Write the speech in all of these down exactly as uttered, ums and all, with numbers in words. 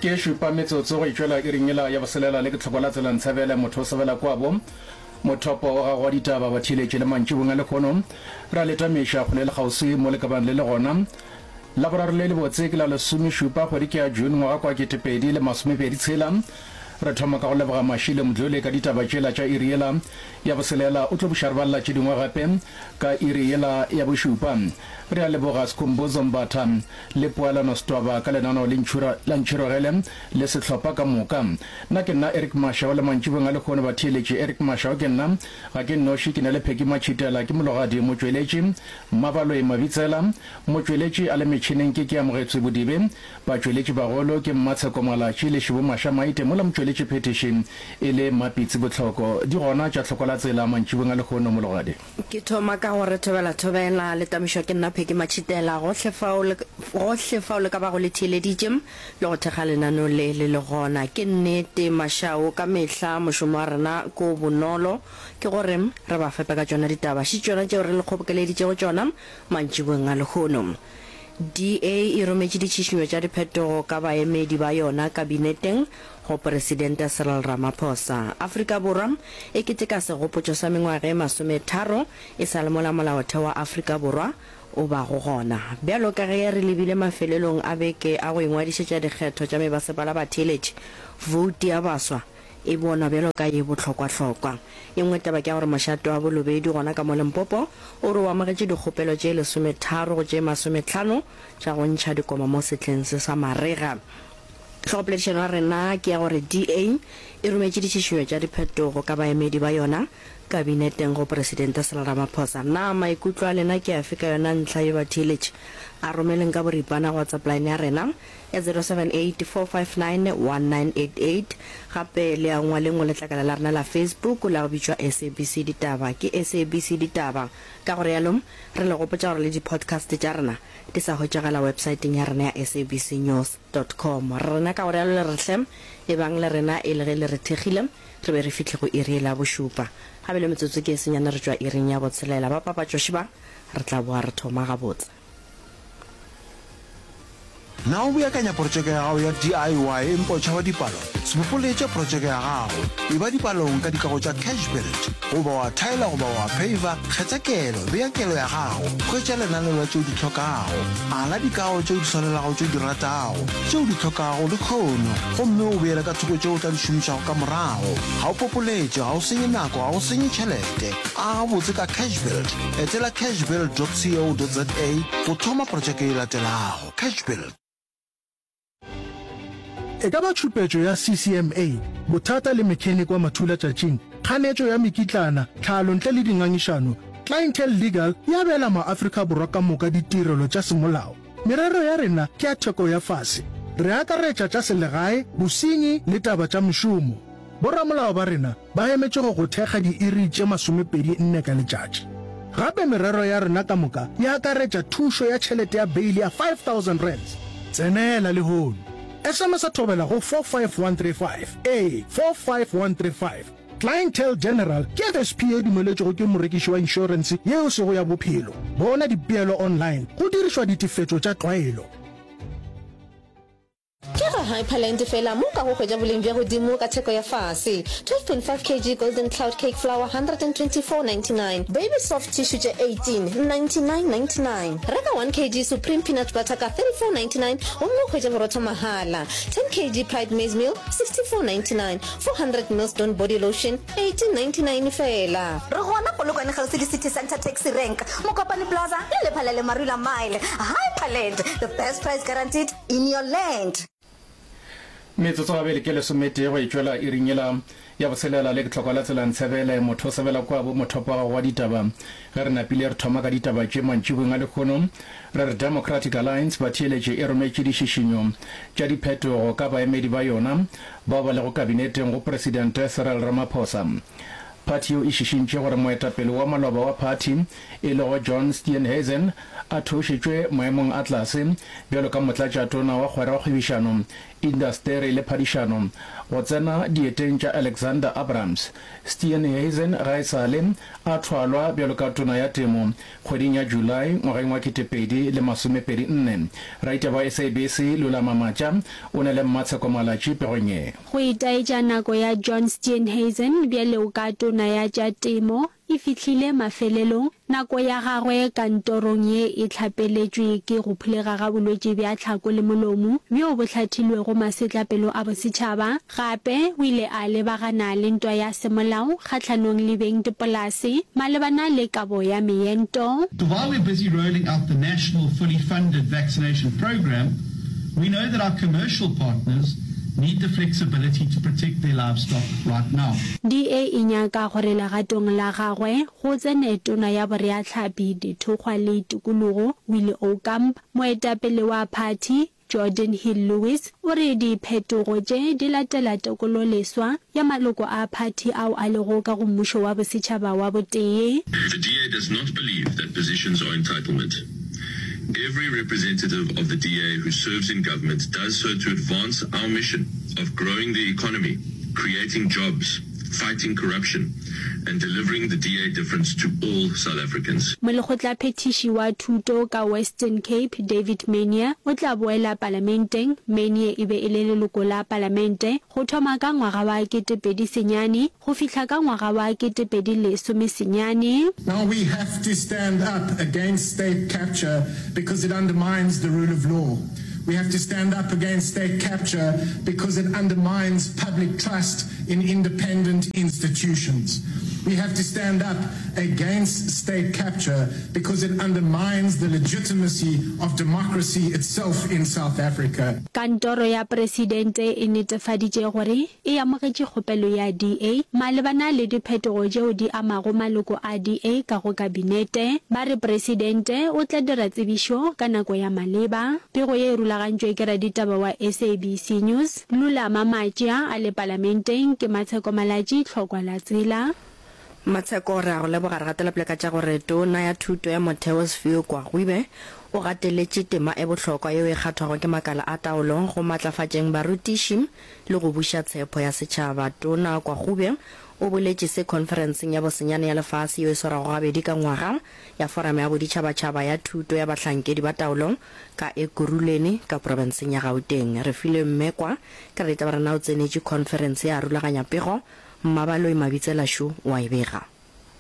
Ke šupa metsotso go itšwela iring yela ya boselela le ke tlhoko la tsela ntshebele motho o sebela kwabo mothopo wa gago wa ditaba batheeletši le mantšibong a lehono ra le tamiša kgole le kgauswi mo le ka bang le le gona. Laboraro le lebotse ke la lesomešupa kgwedi ke ya June ngwaga kwa ketepedi le masomepedi tshela. Re thoma ka go leboga Mashilo Mdluli ka ditaba tšela tša iri yela ya boselela o tlo buša re balela tše dingwe gape ka iri yela ya bošupa. Re a leboga Skhumbuzo Mbatha le Poelano Setwaba ka lenaneo le ntšhura la Ntšhirogele le sehlopha ka moka. Nna ke nna Eric Mashau le mantšibong a lehono batheeletši Eric Mashau ke nna ga ke nnoši ke na le Peggy Matšhitela ke mologadi motšweletši Mmabaloi Mabitsela motšweletši a le metšhineng ke ke Amogetswe Bodibe batšweletši bagolo ke Mmatsheko Malatši le Šibo Maša Maite mola motšweletši phethiši e le Mmapitsi Bohloko di gona tša tlhoko la tsela mantšibong a lehono mologadi. Ke thoma ka go re thobela thobela le tamišwa ke nna Peggy Matšhitela gohle fao le gohle fao le ka bago le theeleditše le go thekga lenaneo le le le gona. Ke nnete Mashau ka mehla mošomo wa rena ke o bonolo ke gore re ba fepe ka tšona ditaba še tšona tšeo re le kgobokeleditšego tšona mantšiboeng a lehono. D A e rometše ditšhišinyo tša diphetogo ka baemedi ba yona kabineteng go Presidente Cyril Ramaphosa. Afrika Borwa e keteka segopotšo sa mengwaga e masometharo e sa le mola Molaotheo wa Afrika Borwa o bago gona. Bjalo ka ge re lebile mafelelong a beke a go ingwadišetša dikgetho tša mebasepala batheeletši, voutu ya baswa e bonwa bjalo ka ye bohlokwahlokwa. Ye nngwe taba ke ya gore mošate wa Bolobedu gona ka mo Limpopo o re o amogetše dikgopelo tše lesometharo go tše masometlhano tša go ntšha dikoma mo sehleng se sa marega. Hlogopoledišano ya rena ke ya gore D A e rometše ditšhišinyo tša diphetogo ka baemedi ba yona kabineteng go Presidente Cyril Ramaphosa. Na maikutlo a lena ke afe ka yona ntlha ye batheeletši? A romeleng ka boripana go WhatsApp line ya rena ya zero seven eight four five nine one nine eight eight. Gape le ya ngwaleng go letlakala la rena la Facebook la go bitšwa S A B C Ditaba. Ke S A B C Ditaba. Ka go realo, re le gopotša gore le di-podcast tša rena di sa hwetšagala websaeteng ya rena ya S A B C news dot com. Rena ka go realo le re hle, ebang le rena e le ge le re thekgile, re be re fihle go iri la bošupa. Gape le metsotso ke e senyane re tšwa iring ya botshelela. Ba papatšoši ba, re tla boa re thoma gabotse. Na o beakanya protšeke ya gago ya D I Y empa o tšhaba dipalo? Se popoletše protšeke ya gago. Eba dipalong ka dikago tša Cash Build. Goba wa thaela goba wa paver, kgetha kelo, bea kelo ya gago, hwetša lenaneo la tšeo di hlokago. Ala dikago tšeo di swanelago tšeo di ratago, tšeo di hlokago lehono, gomme o beele ka thoko tšeo o tla di šomišago ka morago. Ga o popoletše, ga o senye nako, ga o senye tšhelete. Aga botse ka Cash Build. Etela cashbuild dot co dot za go thoma protšeke e latelago. Cash Build. E ka ba tšhupetšo ya C C M A, bothata le mechanic wa mathulatšatšing, kganetšo ya mekitlana, tlhalo ntle le dingangišano, Clientele Legal e abela maAfrika Borwa ka moka ditirelo tša semolao. Merero ya rena ke ya theko ya fase. Re akaretša tša selegae, bosenyi le taba tša mešomo. Boramolao ba rena ba emetše go go thekga diiri tše masomepedi nne ka letšatši. Gape merero ya rena ka moka e akaretša thušo ya tšhelete ya beile ya five thousand rands. Tsenela lehono. S M S a thobela go four five one three five. Ee, four five one three five. Clientele General ke F S P e dumeletšwego ke morekiši wa inšorense yeo e sego ya bophelo. Bona dipeelo online go dirišwa ditefetšo tša tlwaelo. Ke ga Hyperland fela mo o kago hwetša boleng bja godimo ka theko ya fase. twelve point five kilograms Golden Cloud Cake Flour one twenty-four ninety-nine, Baby Soft Tissue tše eighteen ninety-nine ninety-nine. Reka one kilogram Supreme Peanut Butter ka thirty-four ninety-nine gomme o hwetše borotho mahala. ten kilograms Pride Maize Meal sixty-four ninety-nine, four hundred mils Dawn Body Lotion eighteen ninety-nine fela. Re gona Polokwane kgauswi le City Centre Taxi Rank, Mokopane Plaza le Lephalale Marula Mile. Hyperland, the best price guaranteed in your land. Metsotso gabedi ke lesometee go e tšwela iring yela ya botshelela le ke tlhoko la tsela ntshebele motho o sebela kwa bo mothopo wa gago wa ditaba. Ge re napile re thoma ka ditaba tše mantšibong a lehono, re re Democratic Alliance batheeletši e rometše dišišinyo tša diphetogo ka baemedi ba yona bao ba lego kabineteng go Presidente Cyril Ramaphosa. Phathi yeo e šišintše gore moetapele wa maloba wa phathi e lego John Steenhuisen a theošetšwe maemong a tlase bjalo ka motlatšatona wa kgwera wa kgwebišano, indasteri le phadišano go tsena dieteng tša Alexander Abrahams. Steenhuisen ga e sa le a thwalwa bjalo ka tona ya temo kgweding ya July ngwageng wa ketepedi le masomepedi nne. Raitaba wa S A B C Lulama Matša o na le Mmatsheko Malatji pegong ye. Go itaetša nako ya John Steenhuisen bjalo ka tona ya tša temo e fihlile mafelelong. Nako ya gagwe kantorong ye e hlapeletšwe ke go phulega ga bolwetši bja tlhako le molomo bjo bo hlathilwego masetlapelo a bosetšhaba. Gape o ile a lebagana le ntwa ya semolao kgahlanong le bengdipolase malebana le kabo ya meento. While we're busy rolling out the national fully funded vaccination programme, we know that our commercial partners need the flexibility to protect their livestock right now. D A e nyaka gore legatong la gagwe go tsene Tona ya Boreahlapi, Dithokgwa le Tikologo, Willie Aucamp. Moetapele wa phathi, Geordin Hill-Lewis, o re diphetogo tše di latela tekololeswa ya maloko a phathi ao a lego ka go mmušo wa bosetšhaba wa botee. The D A does not believe that positions are entitlement. Every representative of the D A who serves in government does so to advance our mission of growing the economy, creating jobs, fighting corruption and delivering the D A difference to all South Africans. Molekgotlaphethiši wa Thuto ka Western Cape, David Maynier, o tla boela Palamenteng. Maynier e be e le leloko la Palamente go thoma ka ngwaga wa ketepedi senyane go fihla ka ngwaga wa ketepedi lesome senyane. Now we have to stand up against state capture because it undermines the rule of law. We have to stand up against state capture because it undermines public trust in independent institutions. We have to stand up against state capture because it undermines the legitimacy of democracy itself in South Africa. Kantoro ya Presidente e netefaditše gore e amogetše kgopelo ya D A malebana le diphetogo tšeo di amago maloko a D A ka go Kabinete. Ba re Presidente o tla dira tsebišo ka nako ya maleba. Pego ye e rulagantšwe ke raditaba wa S A B C News, Lulama Matšea a le Palamenteng. Ke Matsheko Malatji, Tlhokwa la Tsela. Matsheko, re a go leboga. Re gatela pele ka tša gore Tona ya Thuto ya Motheo Sphiwe Gwarube o gateletše tema e bohlokwa yeo e kgathwago ke makala a taolo go matlafatšeng barutiši le go buša tshepo ya setšhaba. Tona Gwarube o boletše se khonferenseng ya bosenyane ya lefase yeo e swarwago gabedi ka ngwaga ya Foramo ya Boditšhabatšhaba ya Thuto ya Bahlankedi ba Taolo ka Ekurhuleni ka profenseng ya Gauteng. Refilwe Mmekwa ke raditaba rena o tsenetše khonferense ya rulaganya pego. Mmabaloi Mabitsela šo wa e bega.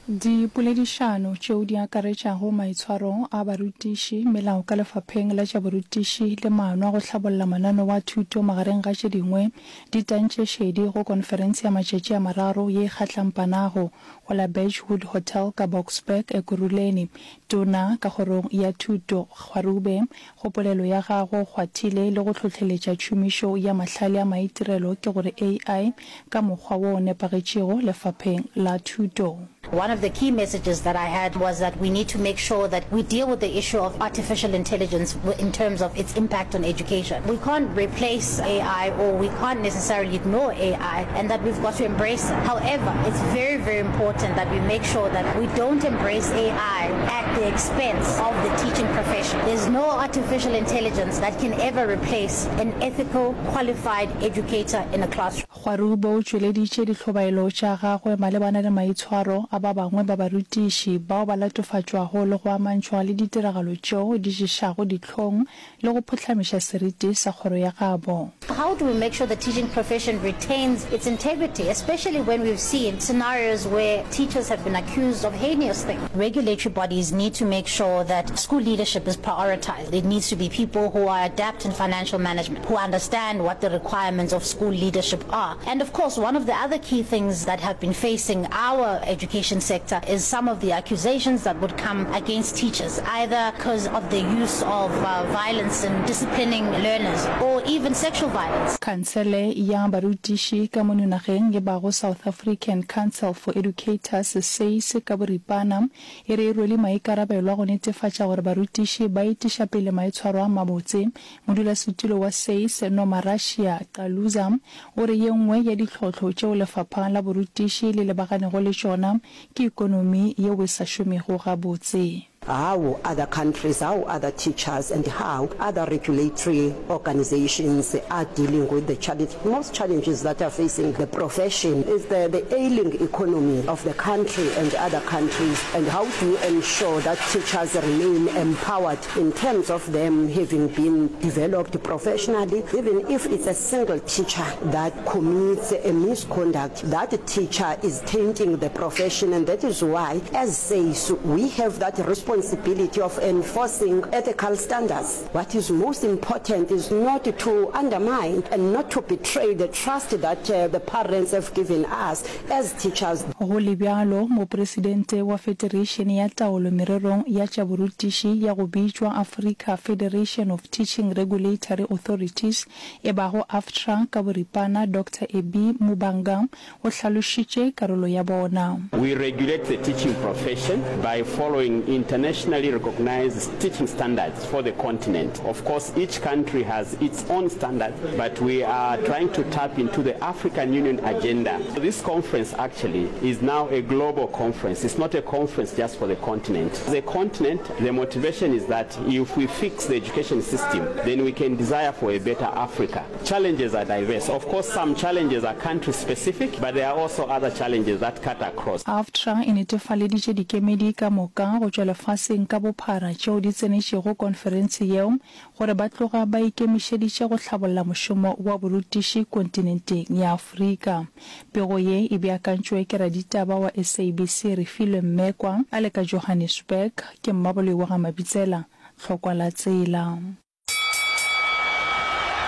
Dipoledišano tšeo di akaretšago maitshwaro a barutiši, melao ka lefapheng la tša borutiši le maano a go hlabolla mananeo a thuto magareng ga tše dingwe di tantše šedi go konferense ya matšatši a mararo ye e kgatlampanago go la Birchwood Hotel ka Boksburg, Ekurhuleni. Tona ka kgorong ya thuto Gwarube go polelo ya gagwe o kgwathile le go hlohleletša tšhomišo ya mahlale a maitirelo ke gore A I ka mokgwa wo o nepagetšego lefapheng la thuto. One of the key messages that I had was that we need to make sure that we deal with the issue of artificial intelligence in terms of its impact on education. We can't replace A I or we can't necessarily ignore A I, and that we've got to embrace it. However, it's very, very important that we make sure that we don't embrace A I at the expense of the teaching profession. There's no artificial intelligence that can ever replace an ethical, qualified educator in a classroom. Gwarube o tšweleditše dihlobaelo tša gagwe malebana le maitshwaro a ba bangwe ba barutiši bao ba latofatšwago le go amantšhwa le ditiragalo tšeo di ješago dihlong le go phuhlamiša seriti sa kgoro ya gabo. How do we make sure the teaching profession retains its integrity, especially when we've seen scenarios where teachers have been accused of heinous things? Regulatory bodies need to make sure that school leadership is prioritized. It needs to be people who are adept in financial management, who understand what the requirements of school leadership are. And of course, one of the other key things that have been facing our education sector is some of the accusations that would come against teachers, either because of the use of uh, violence in disciplining learners or even sexual violence. violence. Khansele ya barutiši ka mono nageng e bago South African Council for Educators, SACE, ka boripana, e re e rwele maikarabelo a go netefatša gore barutiši ba etiša pele maitshwaro a mabotse. Modulasetulo wa SACE, Nomarashiya Caluza, o re ye nngwe ya ditlhohlo tšeo lefapha la borutiši le lebaganego le tšona ke ekonomi yeo e sa šomego gabotse. How other countries, how other teachers and how other regulatory organizations are dealing with the challenge. Most challenges that are facing the profession is the, the ailing economy of the country and other countries, and how do you ensure that teachers remain empowered in terms of them having been developed professionally, even if it's a single teacher that commits a misconduct, that teacher is tainting the profession, and that is why as SACE we have that responsibility responsibility of enforcing ethical standards. What is most important is not to undermine and not to betray the trust that uh, the parents have given us as teachers. Go le bjalo, Mopresidente wa Federeišene ya Taolo Mererong ya tša Borutiši ya go bitšwa Africa Federation of Teaching Regulatory Authorities, e bago AFTRA ka boripana, Doctor Ebby Mubanga, o hlalošitše karolo ya bona. We regulate the teaching profession by following internationally recognized teaching standards for the continent. Of course, each country has its own standards, but we are trying to tap into the African Union agenda. This conference actually is now a global conference. It's not a conference just for the continent. The continent, the motivation is that if we fix the education system, then we can desire for a better Africa. Challenges are diverse. Of course, some challenges are country specific, but there are also other challenges that cut across. AFTRA e netefaleditše dikemedi ka moka go tšwa lefaseng ka bophara tšeo di tsenetšego konferense yeo gore ba tloga ba ikemišeditše go hlabolla mošomo wa borutiši kontinenteng ya Afrika. Pego ye e beakantšwe ke raditaba wa S A B C Refilwe Mmekwa a le ka Johannesburg ke Mmaboloi wa ga Mabitsela, Tlhokwa la Tsela.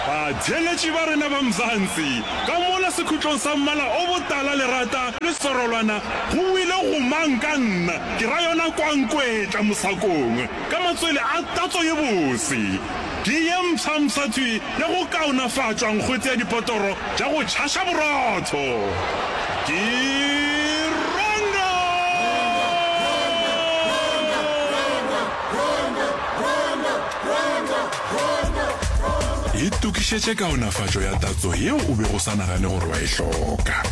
Batheeletši ba rena ba Mzansi, ka mola sekhutlong sa mmala o botala lerata le serolwana go wile gomang ka nna, ke ra yona kwankwetla mosakong, ka matswele a tatso ye bose. Ke ye mpshampsha thwi ya go kaonafatšwa nkgwete ya dipotoro tša go tšhaša borotho. Ke Rondo! Itokišetše kaonafatšo ya tatso yeo o bego o sa nagane gore wa e hloka.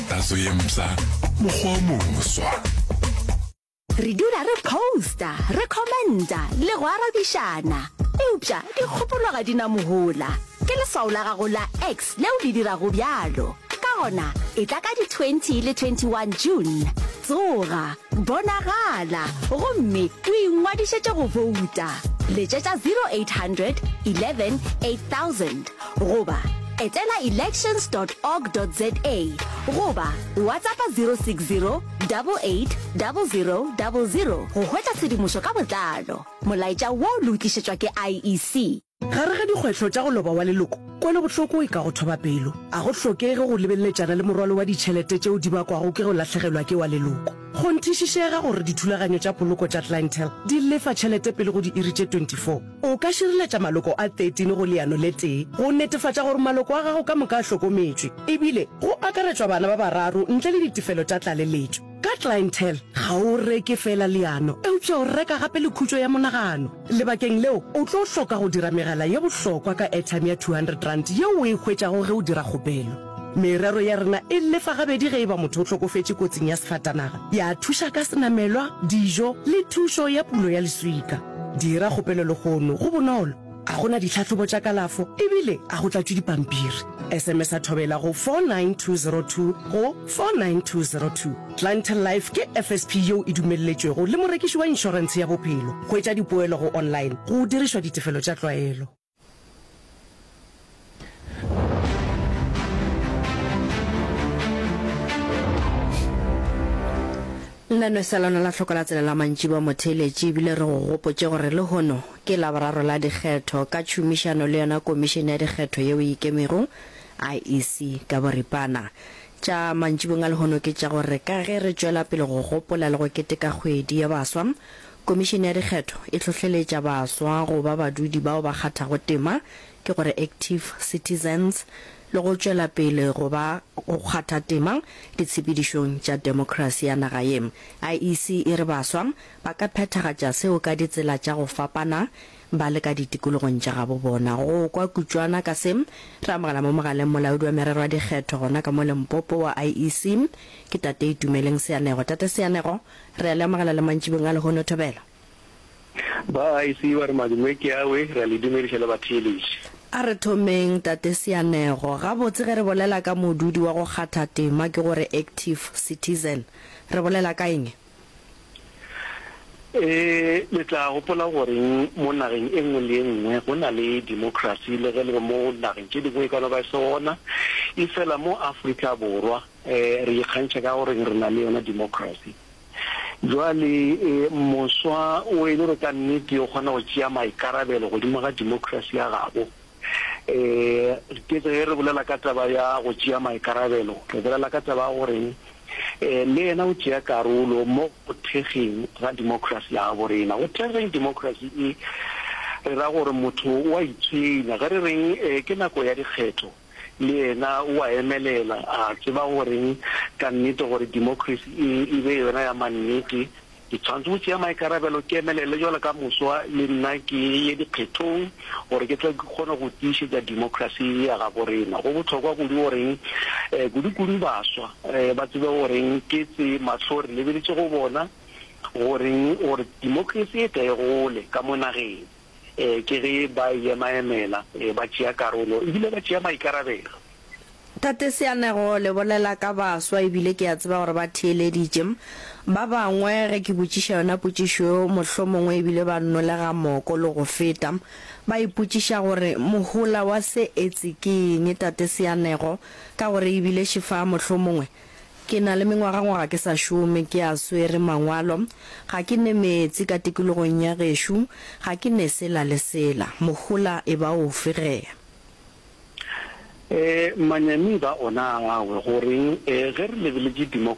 Tatso ye mpsha, mokgwa o moswa. Re dula re posta, re commenta le go arabišana. Eupša dikgopolo ga di na mohola. Ke leswao la gago la X leo le dirago bjalo. Ka gona, etla ka di twenty le twenty one June. Tsoga, bonagala gomme o ingwadišetše go bouta. Letšetša zero eight hundred eleven eight thousand goba etela elections dot org dot za goba WhatsAppa zero six zero double eight double zero double zero go hwetša tshedimošo ka botlalo. Molaetša wo le o tlišetšwa ke I E C. Gare ga dikgwetlho tša go loba wa leloko, kwelobohloko e ka go thoba pelo. A go hlokege go lebeleletšana le morwalo wa ditšhelete tšeo di bakwago ke go lahlegelwa ke wa leloko. Kgonthišišega gore dithulaganyo tša poloko tša Clientele di lefa tšhelete pele go diiri tše twenty four O ka šireletša maloko a thirteen go leano le tee go netefatša gore maloko a gago ka moka a hlokometšwe, e bile go akaretšwa bana ba bararo ntle le ditefelo tša tlaleletšo. Ka Clientele, ga o reke feela leano, eupša o reka gape le khutšo ya monagano. Lebakeng leo, o tlo hloka go dira megala ye bohlokwa ka airtime ya two hundred rand yeo o e hwetšago ge o dira kgopelo. Merero ya rena e lefa gabedi ge e ba motho o hlokofetše kotsing ya sefatanaga, ya thuša ka senamelwa, dijo le thušo ya pulo ya leswika. Dira kgopelo lehono, go bonolo, ga go na ditlhahlobo tša kalafo e bile ga go tlatšwe dipampiri. S M S-a Thobela go four nine two zero two go four nine two zero two. Clientele Life ke F S P yeo e dumelletšwego le morekiši wa inšorentshe ya bophelo. Hwetša dipoelo go online go dirišwa ditefelo tša tlwaelo. Lenaneo sa lona la hloko la tsela la mantšiboa motheeletši ebile re go gopotše gore lehono ke Laboraro la dikgetho ka tšhomišano le yona Komišene ya Dikgetho yeo e Ikemego, I E C, ka boripana. Tša mantšibong a lehono ke tša gore ka ge re tšwela pele go gopola le go keteka kgwedi ya baswa, Komišene ya Dikgetho e hlohleletša baswa go ba badudi bao ba kgathago tema ke gore active citizens, le go tšwela pele go ba go kgatha tema ditshepedišong tša demokrasi ya naga ye. IEC e re baswa ba ka phethagatša seo ka ditsela tša go fapana ba le ka ditikologong tša gabo bona. Go kwa kutšwana ka se, re amogela mo mogaleng molaodi wa merero ya dikgetho gona ka mo Limpopo wa IEC, ke Tate Itumeleng Seanego. Tate Seanego, re a le amogela le mantšibong a lehono. Thobela. Ba IEC ba re madume ke awe, re a le dumediša le batheeletši. A re thomeng, Tate Seanego. Gabotse ge re bolela ka modudi wa go kgatha tema, ke gore active citizen, re bolela ka eng? E, le tla gopola goreng mo nageng e nngwe le e nngwe go na le democracy, le ge le mo nageng tše dingwe e ka no ba e se gona, efela mo Afrika Borwa um re ikgantšha ka goreng re na le yona democracy. Jwale e, moswa o e le gore ka nnete o kgona go tšea maikarabelo godimo ga democracy ya gabo. Um ke ge re bolela ka taba ya go tšea maikarabelo, re bolela ka taba ya goreng um le yena o tšea karolo mo go thekgeng ga democracy ya gabo rena. Go thekgeng democracy e re ra gore motho o a itshwenya. Ge re reng um ke nako ya dikgetho, le yena o a emelela, a tseba goreng ka nnete gore democracy e e be yona ya mannete, ke tshwanetse go tšea maikarabelo, ke emelele jwalo ka moswa le nna ke ye dikgethong gore ke tle ke kgone go tiišetša democracy ya gabo rena. Go bohlokwa kudu goreng um kudu-kudu baswa um ba tsebe goreng ke tse mahlo re lebeletše go bona goreng gore democracy e tle e gole ka mo nageng, um ke ge ba e ema-emela, um ba tšea karolo ebile ba tšea maikarabelo. Tate Seanego, le bolela ka baswa ebile ke a tseba gore ba theeleditše. Ba bangwe ge ke botšiša yona potšišo yeo mohlomongwe ebile ba nolega moko le go feta. Ba ipotšiša gore mohola wa se etse ke eng Tate Seanego, ka gore ebile šefa mohlomongwe ke na le mengwagangwaga ke sa šome, ke a swere mangwalo, ga ke ne meetse ka tikologong ya gešo, ga ke ne sela le sela. Mohola e ba ofe ge? Um manyami ba ona awe goreng um ge re lebeletše